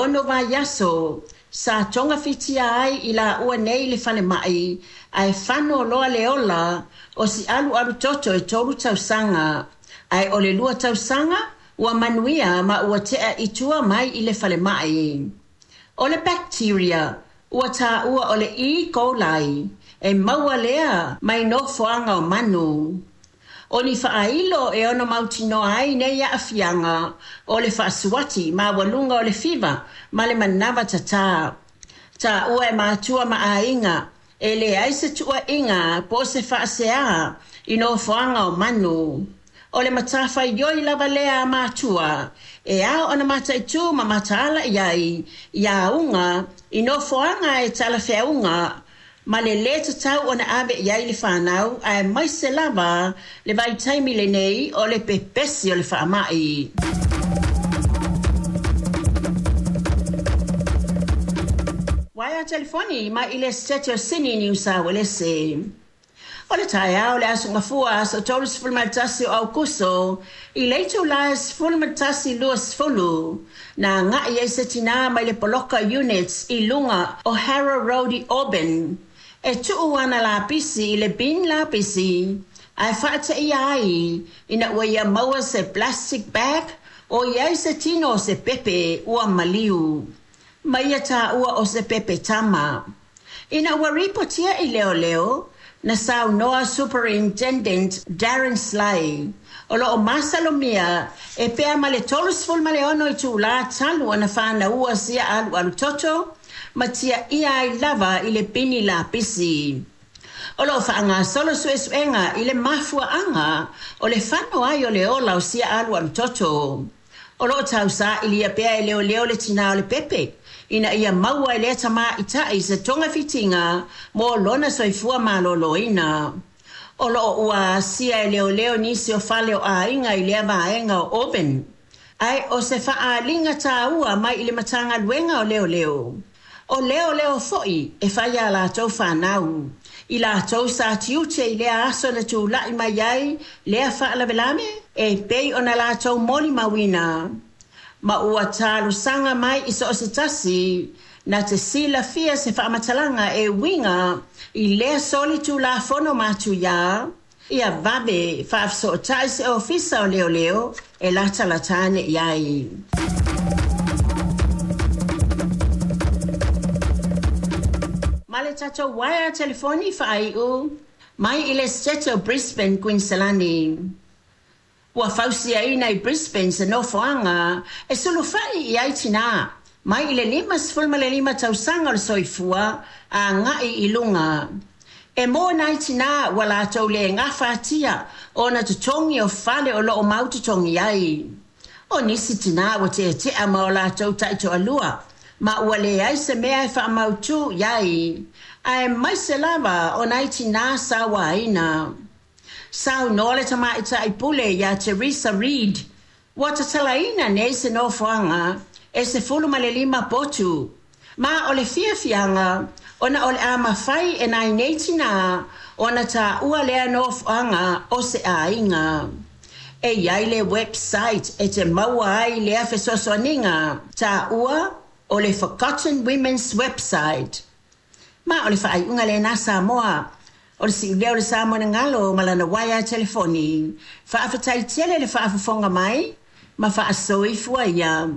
ono vaiaso sa togafitia ai i laua nei i le falemai ae fano loa le ola o si alualu toto e tolu tausaga. Ae o le lua tausaga ua manuia ma ua tea i tua mai i le falemai. O le bacteria ua taua o le E. coli, e maua lea mai nofoaga o manu. O ni faailo e ono mautinoa ai nei aafiaga o le faasuati maualuga o le fiva ma le manava tatā. Taua e matua ma aiga e leai se tuuaiga po o se faasea i nofoaga o manu. O le matafaioi lava lea a matua e ao ona mataitū ma mataala i ai i auga i nofoaga e talafeauga ma le lē tatau ona ave i ai le fanau aemaise lava le vaitaimi lenei o le pepesi o le faamai. Waea telefoni mai i le Setete o Sini, Niu Sauelese. O le taeao o le Aso Gafua, aso 31 o Aukuso, i le itulā e 11:20, na agai ai se tinā mai le poloka units i luga o Harrow Road i Auburn, e tuu ana lapisi i le bin lapisi, ae faateia ai ina ua ia maua se plastic bag o i ai se tino o se pepe ua maliu. Ma ia taua o se pepe tama. Ina ua ripotia i leoleo, na saunoa Superintendent Darren Sly, o lo o masalomia e pea ma le 36 itulā talu ona fanaua sia alualu toto ma tiaia ai lava i le bini lapisi. O lo o faagasolo suesuega i le mafuaaga o le fano ai o le ola o sia alualu toto. O lo o tausaili pea e leoleo le tinā o le pepe ina ia maua e lea tamaitai se togafitiga mo lona soifua maloloina. O lo o ua asia e leoleo nisi o fale o aiga i lea vaega o Auburn. Ae o se faaaliga taua mai i le Matagaluega o Leoleo. O leoleo foi e fai a latou fanau. I latou sa tiute i lea aso na tulai mai ai lea faalavelave e pei ona latou molimauina. Ma ua talosaga mai i so o se tasi na te silafia se faamatalaga e uiga i lea solitulafono matuia, ia vave faafesootai se ofisa o leoleo e latalata ane i ai. Ma le tatou uaea telefoni faaiu mai i le Setete o Brisbane, Kuiniselani. Ua fausiaina i Brisbane se nofoaga e sulufai i ai tinā mai i le 55 tausaga o le soifua agai i luga. E mo nai tinā ua latou le gafatia ona totogi o fale o lo o mau totogi ai. O nisi tinā ua tetea ma o latou taitoalua ma ua leai se mea e faamautū i ai, aemaise lava o nai tinā sauaina. Saunoa le tamaitai pule iā Teresa Reid, ua tatalaina nei se nofoaga e 15 potu, ma o le fiafiaga ona o le a mafai e nai nei tinā ona taua lea nofoaga o se aiga. E i ai le website e te maua ai lea fesoasoaniga, taua o le Forgotten Women's Website. Ma o le faaiuga lena Samoa, o le siuleo o le sa monogalo ma lana uaea telefoni. Faafetai tele le faafofoga mai ma faasoifua ia.